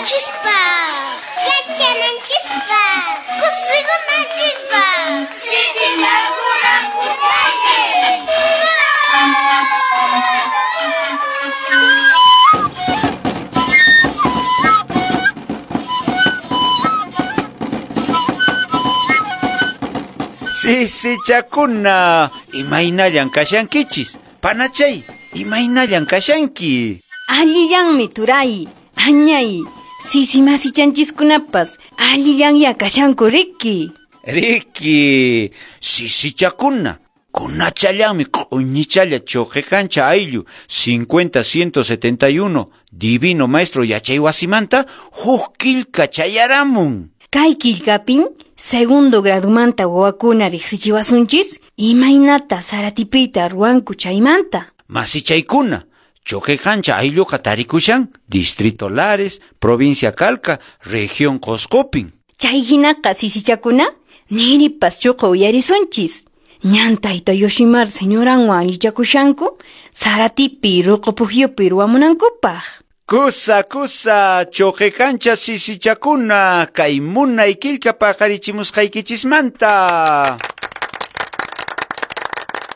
Yachananchispaq. Yachananchispaq. Kusikunanchispaq. Sisichakuna pukllay. Sisichakuna, imaynallan kashankichis? Panachay, imaynallan kashanki? Allillanmi turay, añay, sisi masichanchiskunapas allillanya kashanku riki. Riki, sisichakuna, kunachallanmi q'uñichalla Choquecancha ayllu 50171 Divino Maestro yachaywasimanta huk killka chayaramun. Kay killkapin segundo gradumanta wawakuna riqsichiwasunchis imaynata saratipiyta ruwanku chaymanta. Masichaykuna, Choquecancha aylluqa tarikushan Distrito Lares, Provincia Calca, Región Coscopin. Chay hinaqa sisichakuna niripas chuqa uyarisunchis. Ñan tayta Yoshimar señoranwan allichakushanku saratipi ruqu pukyupi ruwamunankupaq. Kusa, kusa, Choquecancha sisichakuna, kay munay killka paqarichimusqaykichismanta.